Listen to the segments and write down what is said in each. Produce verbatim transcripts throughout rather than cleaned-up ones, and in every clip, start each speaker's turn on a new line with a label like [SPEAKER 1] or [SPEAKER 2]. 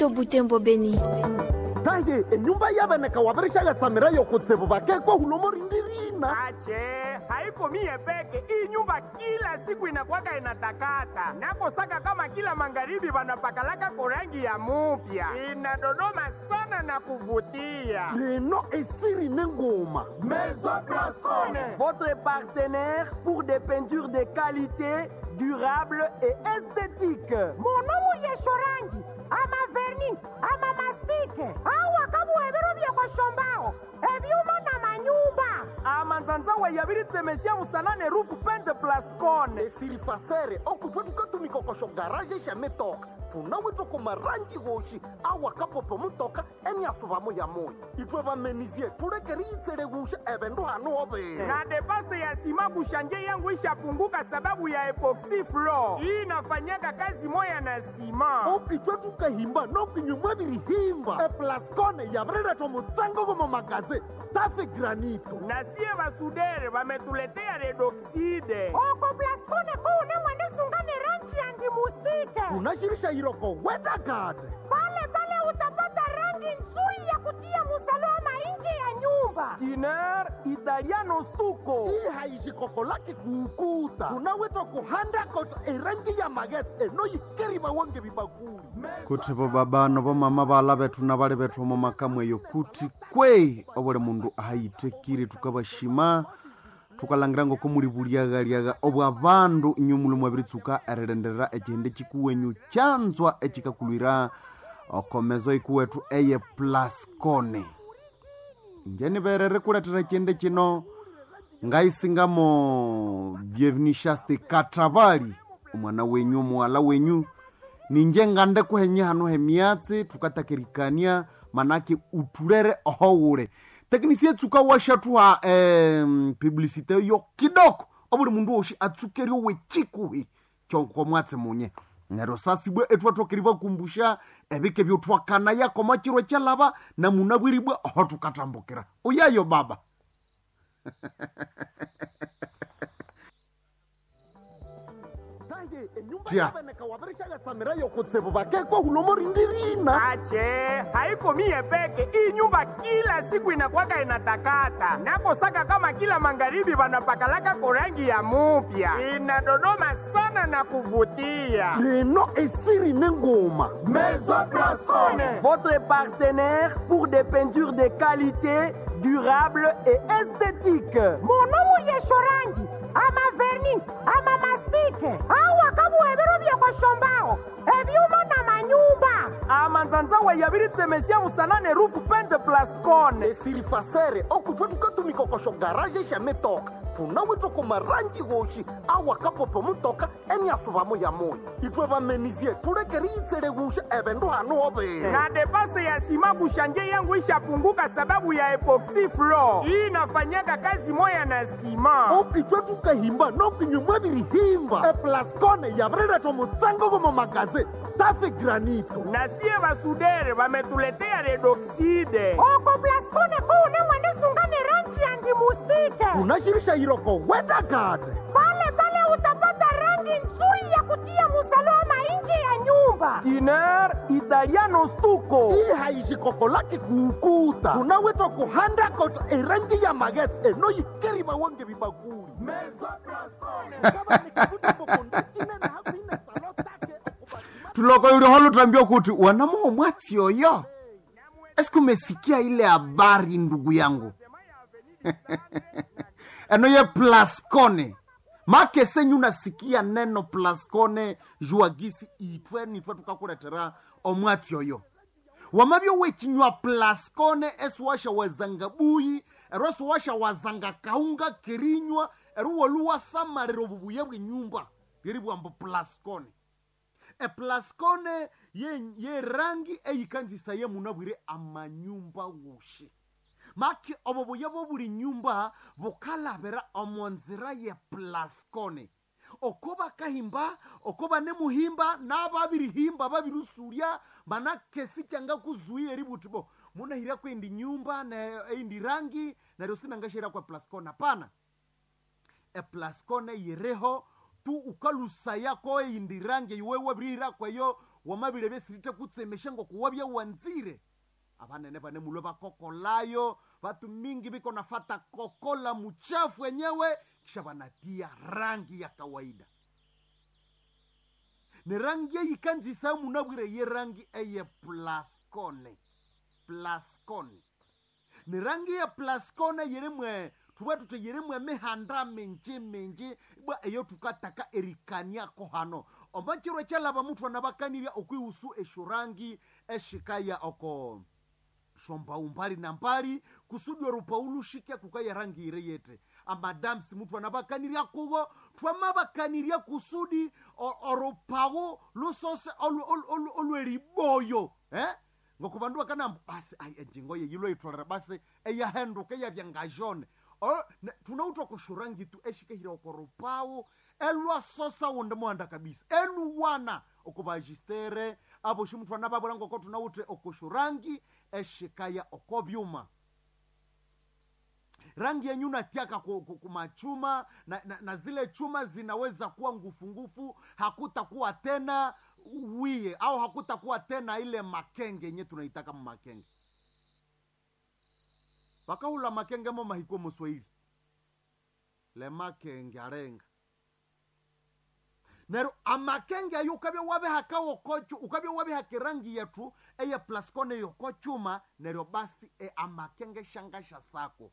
[SPEAKER 1] Moto Butembo Beni.
[SPEAKER 2] Taye enyumba yabeneka wabirishagatsamirayo kutsibu bakekwa hulomo rindirina.
[SPEAKER 3] Ache, haiko mie peke. Hii nyumba kila siku inakwaka inatakata, nakosaka kama kila magharibi wanapakalaka korangi ya mupya, inadodoma sana na kuvutia.
[SPEAKER 2] Leno esiri nengoma.
[SPEAKER 3] Maison Blascone.
[SPEAKER 4] Votre partenaire pour des peintures de qualité, durable et esthétique.
[SPEAKER 5] Monomu yeshorangi ama verni ama mastike awa kabuhebero byekweshombaho ebyuma na manyumba.
[SPEAKER 4] Amanzanzawa yabiritsemesia musanane rufu pente Plascone.
[SPEAKER 2] Esiri fasere okutwa tukatumikokosho garaje shametoka tunawitwa kumarangi woshi awakapopo mutoka eniasubamo ya moyo itwe bamenizie tulekeri itsele gusha ebendu hanu hobere.
[SPEAKER 3] Na depase ya sima kushanje yangu ishapunguka sababu ya epoxy floor. Hii inafanyaka kazi moya na sima.
[SPEAKER 2] Okitwe tukahimba nokinyumwa birihimba eplascone yabireretwa mutsango gomo magaze tafe granito.
[SPEAKER 3] Na sie basudere wametuletea redoxide.
[SPEAKER 5] Oko Plascone kuune mwendesungane rangi yangi mustike.
[SPEAKER 2] Tunashirisha iroko wedagade.
[SPEAKER 5] Pale pale utapata rangi nzuri ya kutia musalama nje ya nyumba.
[SPEAKER 4] Tiner italiano stuko.
[SPEAKER 2] Hii haishikoko lake kuukuta tunawetwa kuhanda kota erangi ya magetse enoyikeriba wange bibakuli.
[SPEAKER 6] Kuti bo baba no bomama bala bethu na bali bethu omo makamu eyo kuti kwei obuli mundu ahayitekire tukabashima tukalangira ngoko muli buliaghaliagha obwa bandu inyu muli mwabiritsuka erilindirira ekihindi kikuwenyu kyanzwa ekikakulwira okomezo ikuwethu eye Plascone. Inje niberere kuletera ekihindi kino ngaisingamo Bienvenue Katravali omwana wenyu omuwala wenyu ninje ngande kuhenye hano hemyatsi tukatakirikania manake utulere ohowule teknisia etsuka washathuha eh, publicité yo kidoko obuli mundu woshi atsukerio wechikuhi kyonko mwatsi munye neryo sasibwe etwathokeri bakumbusha ebike byothwakana yakoma chiro kyalaba namunabwiribwe oho tukatambukira uyayo baba.
[SPEAKER 2] Taye enyumba
[SPEAKER 6] Tia.
[SPEAKER 2] yabeneka wabirishagatsamirayo kutsibu bakekwa hulomo rindirina.
[SPEAKER 3] Ache, haiko mie peke. Hii nyumba kila siku inakwaka inatakata, nakosaka kama kila magharibi wanapakalaka korangi ya mupya, inadodoma sana na kuvutia.
[SPEAKER 2] Leno esiri nengoma.
[SPEAKER 3] Maison Blascone.
[SPEAKER 4] Votre partenaire pour des peintures de qualité, durable et esthétique.
[SPEAKER 5] Monomu yeshorangi ama verni ama mastike awa kabuhebero byekweshombaho ebyuma na manyumba.
[SPEAKER 4] Amanzanzawa yabiritsemesia musanane rufu pente Plascone.
[SPEAKER 2] Esiri fasere okutwa tukatumikokosho garaje shametoka tunawitwa kumarangi woshi awakapopo mutoka eniasubamo ya moyo itwe bamenizie tulekeri itsele gusha ebendu hanu hobere.
[SPEAKER 3] Na depase ya sima kushanje yangu ishapunguka sababu ya epoxy floor. Hii inafanyaka kazi moya na sima.
[SPEAKER 2] Okitwe tukahimba nokinyumwa birihimba eplascone yabireretwa mutsango gomo magaze tafe granito.
[SPEAKER 3] Na sie basudere wametuletea redoxide.
[SPEAKER 5] Oko Plascone kuune mwendesungane rangi yangi mustike.
[SPEAKER 2] Tunashirisha iroko wedagade.
[SPEAKER 5] Pale pale utapata rangi nzuri ya kutia musalama nje ya nyumba.
[SPEAKER 4] Tiner italiano stuko.
[SPEAKER 2] Hii haishikoko lake kuukuta tunawetwa kuhanda kota erangi ya magetse enoyikeriba wange bibakuli.
[SPEAKER 6] Tuloko yuli holo tuambiwa kuti wanamuho mwatsi oyo esiku umesikia ile habari ndugu yangu eno ye Plascone make senyu nasikia neno Plascone juagisi itwe nitwe tukakuletera omwatsi oyo wamabyo wechinywa Plascone esiwasha wazanga buyi ero esiwasha wazanga kaunga kerinywa ero woluwasamalira obubuya bwenyumba lyeri bwambo Plascone. Eplascone ye, ye rangi eyikanzisa ye munabwire amanyumba wushi maki obo buya bobuli nyumba bukalabira omonzira ye Plascone oko bakahimba oko banemuhimba nababirihimba babirusurya manake sikyanga kuzuia eributi bo munahira kwendi nyumba na eindi rangi neryo sinangashira kwa Plascone hapana. Eplascone yireho tu ukalusa yako eyindi rangi iwe wabirihira kweyo Wamabire byesirite kutsemesha ngokuwabya wanzire. Abanene bane mulwe bakokolayo, batu mingi biko nafata kokola muchafu wenyewe, kisha banatia rangi ya kawaida. Ni rangi eyikanzisa munabwire ye rangi eye plascone. Plascone. Ni rangi ya plascone yerimwe tuba tute yerimwe mihanda minji minji bwa eyo tukataka erikaniako hano. Omachiro kyalaba muthu anabakanirya okwihusu esyo rangi eshikaya oko shombau mbali na mbali kusudi orupau lushike kukaya rangi ire yete. Amadamsi muthu anabakanirya kugo twamabakanirya kusudi orupau lusose olweriboyo eh? Ngoku bandu bakanamba basi ai enjingo ye yilo itolera basi eyahenduka eyabya ngajone. Tunautwa kushurangi tu eshikehira okorupau elwasosa wonde muhanda kabisa eluwana okubajistere abo shimuthu anababwira ngoko tunawuthe okushurangi eshikaya okobyuma. Rangi yenyu natiaka kumachuma na, na, na zile chuma zinaweza kuwa ngufungufu, hakutakuwa tena wiye au hakutakuwa tena ile makenge yenye tunaitaka makenge. Bakahula makenge mo mahiko Moswahili. Le makenge arenga. Nero amakenge ayo ukabya wabe hakawo kocho, ukabya wabe hakirangi yetu eye plascone yokochuma nero basi e amakenge shangasha sako.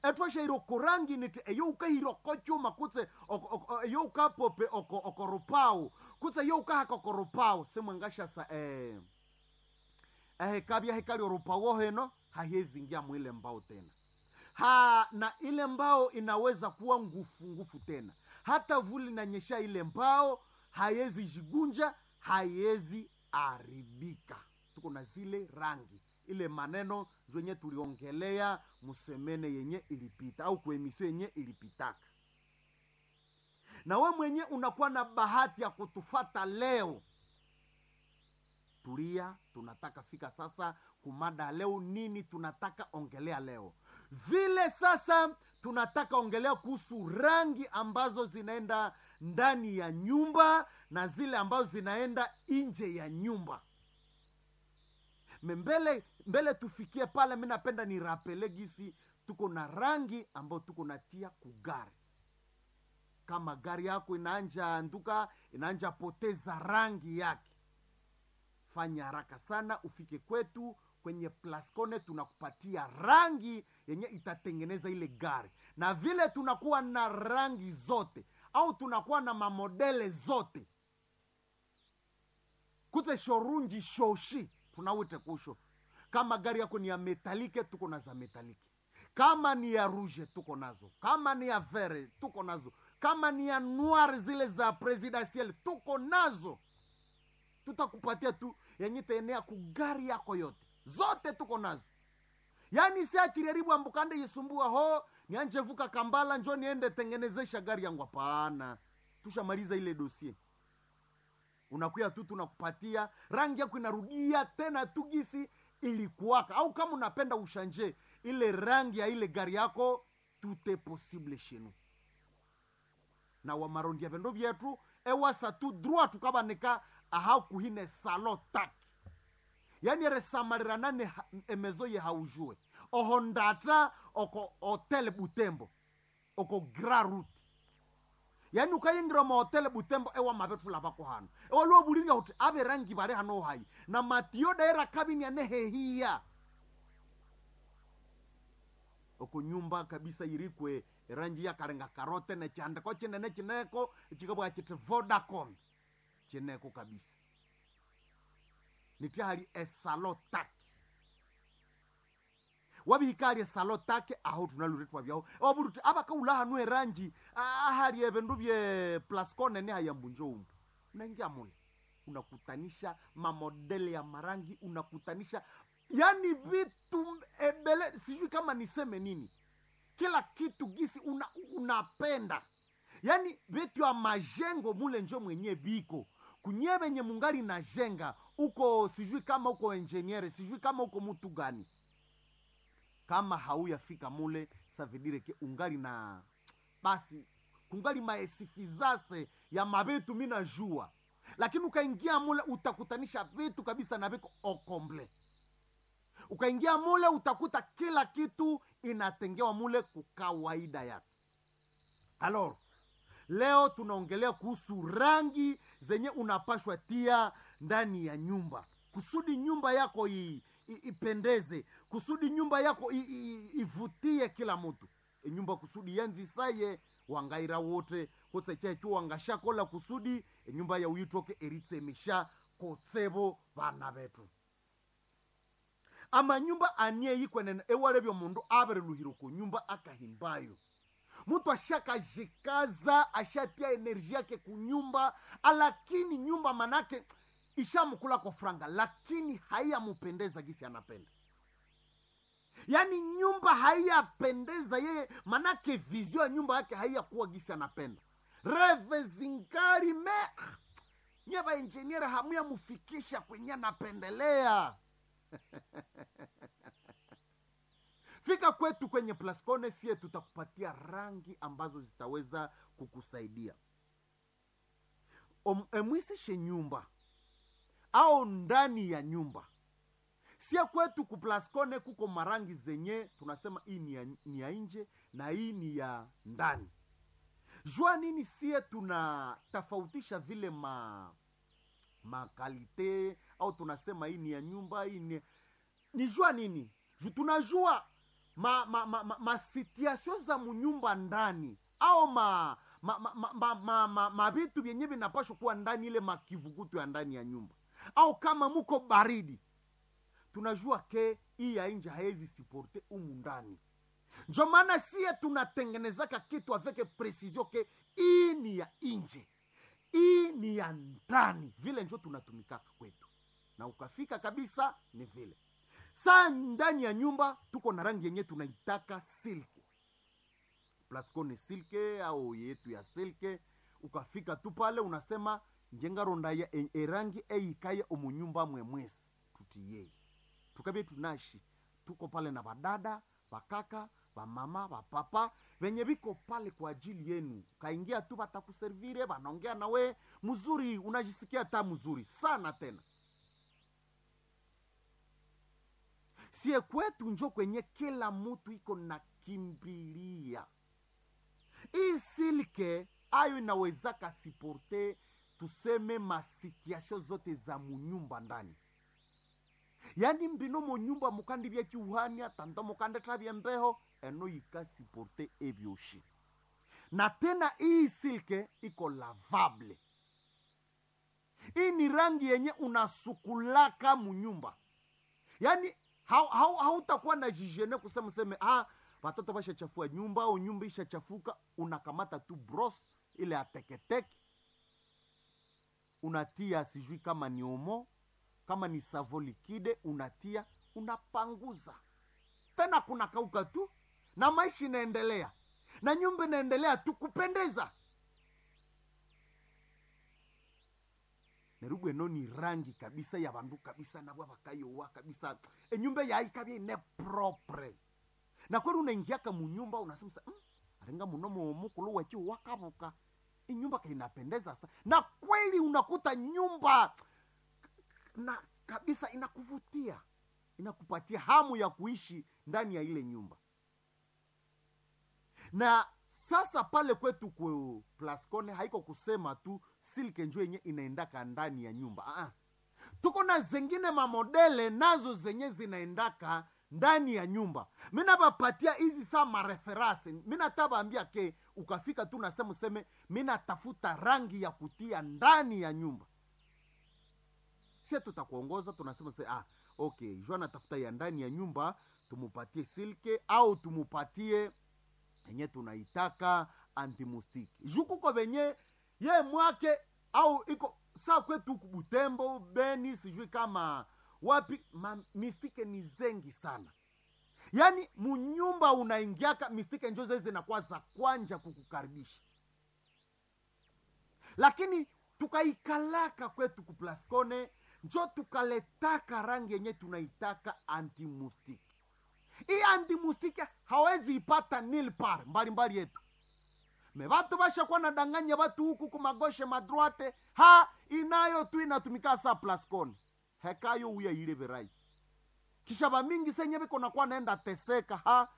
[SPEAKER 6] Etwashairo kurangi niti eyo ukahiro kochuma kutse eyo ukapope oko okorupau kutse eyo ukahaka okorupau simwangasha sa eh eh kabya hekali orupau heno hahezingia mwile mbao tena. Ha, na ile mbao inaweza kuwa ngufu ngufu tena. Hata vuli na nyesha ile mbao haiwezi jigunja, haiwezi aribika. Tuko na zile rangi. Ile maneno zenye tuliongelea musemene yenye ilipita au kuemisio yenye ilipitaka. Na we mwenye unakuwa na bahati ya kutufata leo. Tulia, tunataka fika sasa kumada leo nini tunataka ongelea leo. Vile sasa tunataka ongelea kuhusu rangi ambazo zinaenda ndani ya nyumba na zile ambazo zinaenda nje ya nyumba. Mbele, mbele tufikie pale, mimi napenda ni rapele gisi tuko na rangi ambayo tuko natia kugari. Kama gari yako inaanja anduka, inaanja poteza rangi yake, fanya haraka sana ufike kwetu kwenye Plascone, tunakupatia rangi yenye itatengeneza ile gari. Na vile tunakuwa na rangi zote au tunakuwa na mamodele zote. Kutse shorunji shoshi tunawite kusho. Kama gari yako ni ya metalike tuko na za metalike. Kama ni ya rouge tuko nazo. Kama ni ya vere tuko nazo. Kama ni ya noir zile za presidentiel tuko nazo. Tutakupatia tu yenye itaenea ku gari yako yote. Zote tuko nazo. Yaani si achireribu ambukande yisumbua ho, nianje vuka Kambala njo niende tengenezesha gari yangu, hapana. Tushamaliza ile dossier. Unakuya tu tunakupatia rangi yako inarudia tena tu gisi ilikuwaka. Au kama unapenda ushanje ile rangi ya ile gari yako, tout est possible chez nous. Na wa marondia vendo vyetu ewasa tu droit tukabaneka aha kuhine salo tak. Yani resamalirana ne emezo ye haujue. Ohondata oko hotel Butembo. Oko Grand Route. Yani ukayingira mu hotel Butembo ewa mabetu labako hano. Ewa luo bulinga uti abe rangi bare hano hai. Na matio daira kabini ya nehehia. Oko nyumba kabisa irikwe rangi ya karenga karote ne chandeko chinene chineko chikabwa chite Vodacom. Chineko kabisa. Niti hali esalo take. Wabihikali esalo take aho tunaluretwa byaho. Oburuti abakaula hanu erangi ahali ebindu bye Plascone ne hayambunjo umbu. Unaingia mule. Unakutanisha mamodele ya marangi, unakutanisha yani vitu ebele, sijui kama niseme nini. Kila kitu gisi una, unapenda. Yani vitu ya majengo mule njo mwenye biko. Kunye benye mungali na jenga uko sijui kama uko engineer, sijui kama uko mtu gani. Kama hauyafika mule savidire ke ungali na basi kungali maesifizase ya mabetu mina jua. Lakini ukaingia mule utakutanisha vitu kabisa na viko okomble. Ukaingia mule utakuta kila kitu inatengewa mule kukawaida yake. Alors, leo tunaongelea kuhusu rangi zenye unapashwa tia ndani ya nyumba kusudi nyumba yako i, i, ipendeze, kusudi nyumba yako i, i, ivutie kila mtu. E nyumba kusudi yanzisaye wangaira wote kotse chechu wangashakola kusudi enyumba ya uyitoke eritsemisha kotsebo vana betu. Amanyumba anie yikwenene ewalebyo mundu abereluhiro ku nyumba akahimbayo mtu ashakajikaza ashatia enerji yake kunyumba, lakini nyumba manake ishamkula kwa franga, lakini haiyamupendeza gisi anapenda. Yaani nyumba haiyapendeza yeye, manake vizio ya nyumba yake haiyakuwa gisi anapenda. Reve zingari me nye ba engineer hamuyamufikisha kwenye anapendelea. Fika kwetu kwenye Plascone, sie tutakupatia rangi ambazo zitaweza kukusaidia emwisishe nyumba au ndani ya nyumba. Sie kwetu ku Plascone kuko marangi zenye tunasema hii ni ya, ni ya nje na hii ni ya ndani. Jua nini sie tunatofautisha vile ma makalite au tunasema hii ni ya nyumba, hii ni ni jua nini? Ju tunajua ma ma ma, ma, ma situation za munyumba ndani au ma ma ma, ma, ma, ma, ma, ma vitu vyenye vinapashwa kuwa ndani, ile makivukutu ya ndani ya nyumba, au kama muko baridi tunajua ke hii ya nje haezi siporte umu ndani. Njo maana sie tunatengenezaka kitu avec precision ke hii ni ya nje, hii ni ya ndani, vile njo tunatumikaka kwetu, na ukafika kabisa ni vile. Saa ndani ya nyumba tuko na rangi yenye tunaitaka silke, Plascone silke au yetu ya silke. Ukafika tu pale unasema njengarondaya erangi eikaye omunyumba mwemwesi tutiyei tukabye tunashi tuko pale na badada bakaka bamama bapapa venye biko pale kwa ajili yenu. Kaingia tu batakuservire, banaongea nawe mzuri, unajisikia ta mzuri sana tena. Sie kwetu njo kwenye kila mutu iko na kimbilia hii silke, ayo inawezaka siporte tuseme masituasio zote za munyumba ndani. Yani mbino munyumba mukandi byekiuhania tando mukande tabye mbeho eno yikasiporte ebyoshi. Na tena hii silke iko lavable, hii ni rangi yenye unasukulaka munyumba, yani hautakuwa hau na jijene kusema seme ah, watoto bashachafua nyumba au nyumba ishachafuka. Unakamata tu bros ile ya teketeke unatia, sijui kama ni omo kama ni savo likide, unatia unapanguza tena, kuna kauka tu na maisha inaendelea na nyumba inaendelea tu kupendeza. Nerugwe eno ni rangi kabisa ya bandu kabisa nabwa bakayowa kabisa enyumba yaikabya ine propre na kweli unaingiaka munyumba unasema mm, arenga muno mukulu wachi wakabuka inyumba kainapendeza sa na kweli unakuta nyumba na kabisa inakuvutia inakupatia hamu ya kuishi ndani ya ile nyumba. Na sasa pale kwetu ku Plascone haiko kusema tu silke njo yenye inaendaka ndani ya nyumba. Ah, tuko na zengine mamodele nazo zenye zinaendaka ndani ya nyumba. Mina bapatia hizi saa mareferase, mina tabaambia ke ukafika tu nasema useme mina tafuta rangi ya kutia ndani ya nyumba, sie tutakuongoza tunasema se, ah, okay, jua natafuta ya ndani ya nyumba tumupatie silke au tumupatie enye tunaitaka antimustiki juu kuko venye ye mwake au iko saa kwetu huku Butembo, Beni, sijui kama wapi, ma mistike ni zengi sana. Yaani munyumba unaingiaka mistike njo zile zinakuwa za kwanja kukukaribisha, lakini tukaikalaka kwetu ku Plascone njo tukaletaka rangi yenye tunaitaka antimustiki. Hii antimustiki hawezi ipata nil par mbalimbali yetu, Me batu bashakuwa nadanganya batu huku kumagoshe madroite, ha inayo tu inatumika sa Plascon. Hekayo uya ile verai. Kisha bamingi senye biko nakuwa naenda teseka ha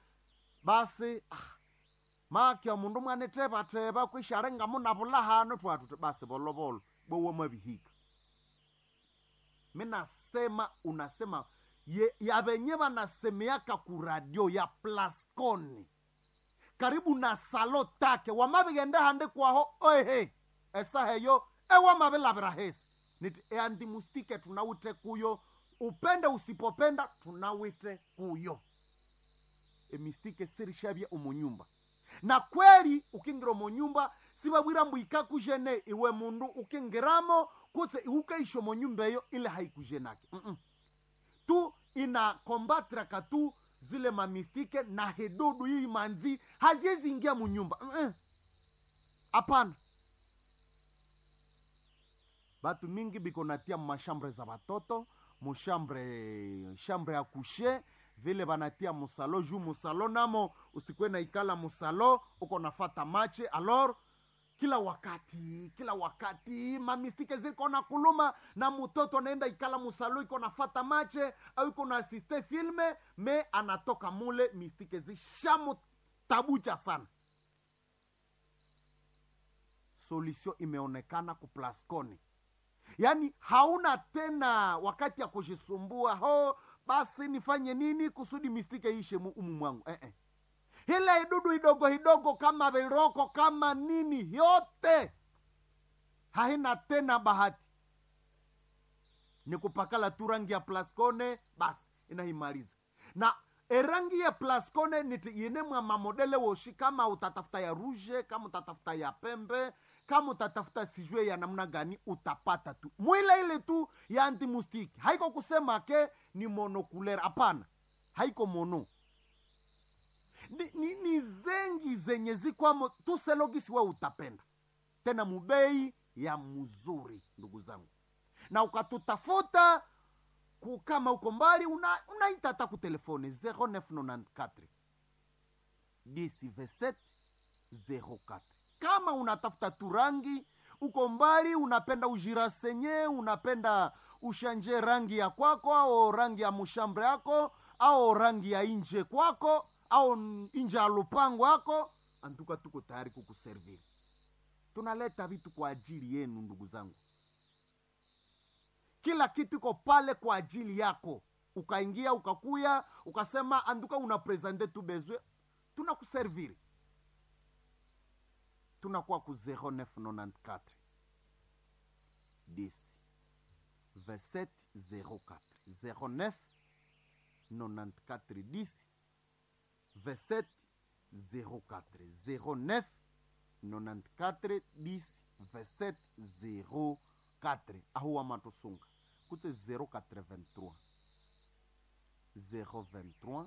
[SPEAKER 6] basi ah, makya mundu mwane teba teba kwisharenga munabula hano twatu basi bolobolo bowo mabihika. Minasema unasema ye, ya benye banasemeaka ku radio ya Plascon karibu na salo take wamabigende hande kwaho oehe esaheyo ewamabilabira hesi niti eandimustike tunawite kuyo upende usipopenda tunawite kuyo emistike sirishabye omunyumba. Na kweli ukingira omunyumba sibabwira mbu ikakujene iwe mundu ukingiramo kutse iukaisha omunyumba eyo ile haikujenake mm -mm. Tu ina kombatraka tu zile mamistike na hedudu hii manzi haziwezi ingia munyumba hapana. Mm -mm. Batu mingi biko natia mashambre za batoto mushambre shambre ya kushe vile banatia musalo juu musalo namo usikwe na ikala musalo uko nafata mache alor kila wakati kila wakati mamistike ziko na kuluma na mutoto anaenda ikala musalo iko nafata mache au iko na asiste filme me anatoka mule mistike zishamutabucha sana. Solution imeonekana ku Plascon, yaani hauna tena wakati ya kujisumbua ho basi nifanye nini kusudi mistike ishe umu mwangu eh -eh. Ile idudu idogo idogo kama viroko kama nini yote haina tena bahati, ni kupakala tu rangi ya Plascone basi inaimaliza. Na erangi ya Plascone niti inemwa mamodele woshi, kama utatafuta ya rouge, kama utatafuta ya pembe, kama utatafuta sijue ya namna gani utapata tu mwile ile tu ya antimustiki. Haiko kusema ke ni monocouleur, hapana, haiko mono ni, ni, ni zengi zenye zikwamo tuselogisi we utapenda tena mubei ya mzuri, ndugu zangu. Na ukatutafuta kukama uko mbali unaita hata ku telefone zero neuf nonante-quatre dix vingt-sept zero quatre. Kama unatafuta turangi uko mbali, unapenda ujirasenye, unapenda ushanje rangi ya kwako au rangi ya mushambre yako au rangi ya inje kwako au inje ya lupango yako, antuka tuko tayari kukuserviri. Tunaleta vitu kwa ajili yenu ndugu zangu, kila kitu iko pale kwa ajili yako. Ukaingia ukakuya ukasema anduka una presente tu bezwe, tunakuserviri. Tunakuwa ku zero neuf nonante-quatre dix vingt-sept zero quatre zero neuf nonante-quatre dix vingt-sept zero quatre zero neuf nonante-quatre dix vingt-sept zero quatre. Ahuwa matosunga kutse zero quatre-vingt-trois zero vingt-trois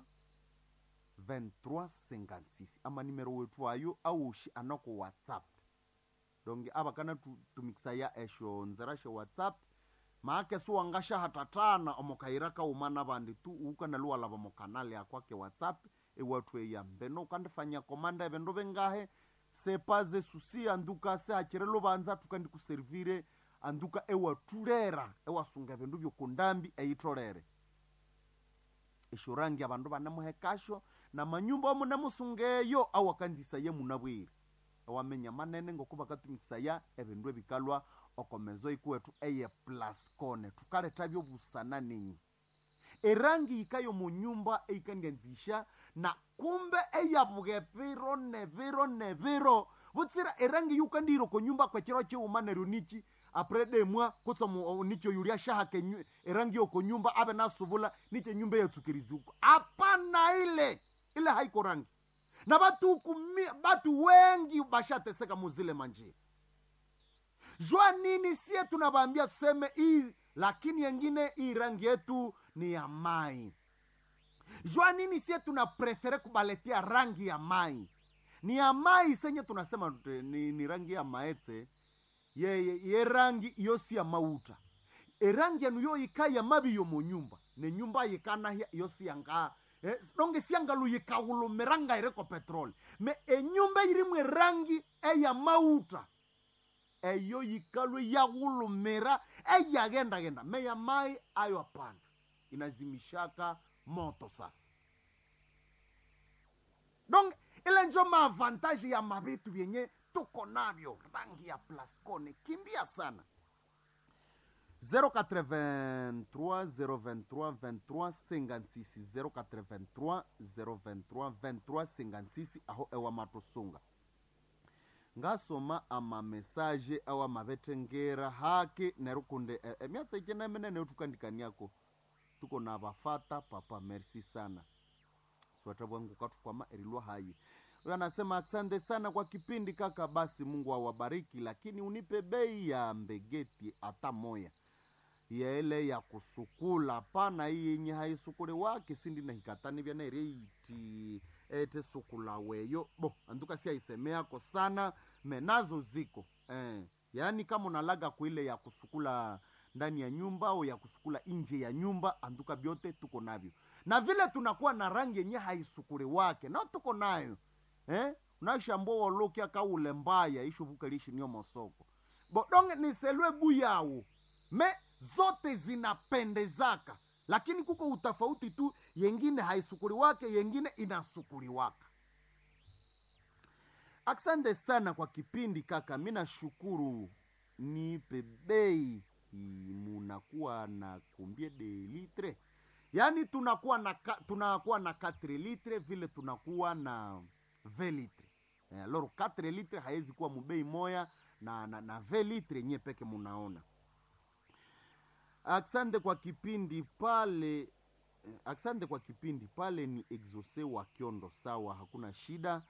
[SPEAKER 6] vingt-trois cinquante-six ama nimero wetu ayo aushi anako WhatsApp donge aba kana tumikisa ya esho nzera she WhatsApp maake suwangasha hatatana omokaira kauma bandi tu ukana luwalaba mokanale akwake WhatsApp ewathu eya mbeno ukandifanya komanda ebindu bingahe sepaze susi anduka se hakire lubanza tukandikuservire anduka ewatulera ewasunga ebindu byokundambi eyitolere esho rangi abandu banemuhekasho na manyumba omunemusungeyo awakanzisa ye munabwire ewamenya manene ngoko bakatumikisaya ebindu ebikalwa okomezo ikuwetu eye Plascone tukaleta byobusana ninyi erangi yikayo munyumba eikandianzisha na kumbe eyabuga ebiro nebiro nebiro butsira erangi yukandiro konyumba kwekiro chiuma neryo niki apre demwa kutsa nicho yulia shahake erangi yokonyumba abe nasubula niche nyumba yatsukiriziuko apana ile ile haiko rangi na batu kumi, batu wengi bashateseka muzile manjia jua nini sie tunabambia tuseme hii lakini yengine hii rangi yetu ni ya mai jua nini sie tuna prefere kubaletia rangi ya mai ni ya mai senye tunasema ni, ni rangi ya maetse ye, ye, ye rangi iyo si ya mauta erangi yanu yo yika ya mabi yo munyumba ne nyumba yikanahya iyo si yanga eh, donge syangalu yikahulumira ngaireko petroli. Me enyumba irimu erangi eyamauta eyo yikalwe yahulumira eyagendagenda. Me ya mai ayo hapana, inazimishaka moto sasa. Donc ile njo maavantaji ya mavitu vyenye tuko navyo. Rangi ya Plascone kimbia sana. zéro quatre-vingt-trois zéro vingt-trois vingt-trois cinquante-six, zéro quatre-vingt-trois zéro vingt-trois vingt-trois cinquante-six aho ewa matusunga ngasoma amamesaje awa mavetengera haki nerukunde e, e, myatsa icenemenene tukandikaniako tuko na vafata papa merci sana swata bwangu katukwama erilwa hayi. Huyo anasema asante sana kwa kipindi kaka, basi Mungu awabariki, lakini unipe bei ya mbegeti hata moya yele ya kusukula pana iyi yenye haisukule wake sindi na hikatani vya naireiti ete sukula weyo bo anduka si aisemeako sana menazo ziko eh, yaani kama unalaga kuile ya kusukula ndani ya nyumba au ya kusukula nje ya nyumba, anduka vyote tuko navyo, na vile tunakuwa na rangi yenye haisukuli wake na tuko nayo eh? Unashambo wolokia kaule mbaya ishuvukalishi niyo mosoko bodonge niselwe buyawu me zote zinapendezaka, lakini kuko utafauti tu, yengine haisukuli wake, yengine inasukuliwaka. Asante sana kwa kipindi kaka, mi nashukuru. Nipe bei munakuwa na kumbie de litre, yaani tunakuwa na ka, tunakuwa na quatre litre vile tunakuwa na vingt litre. Eh, alors quatre litre haiwezi kuwa mubei moya na, na, na vingt litre nye peke munaona. Asante kwa kipindi pale, eh, asante kwa kipindi pale. Ni Exose wa Kiondo, sawa, hakuna shida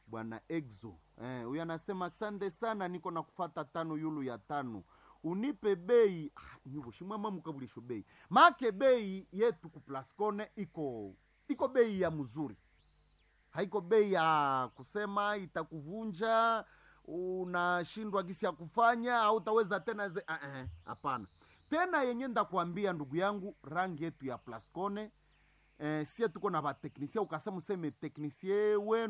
[SPEAKER 6] bwana Exo. Eh, huyu anasema asante sana, niko na kufata tano yulu ya tano, unipe bei ah, nyuvo shimwama mukabulisho bei make bei yetu ku Plascone iko iko bei ya mzuri, haiko bei ya kusema itakuvunja unashindwa gisi ya kufanya au utaweza tena ze ah, eh, hapana tena yenye ndakwambia ndugu yangu, rangi yetu ya Plascone eh, sie tuko na bateknisie, ukasema useme teknisie wenu.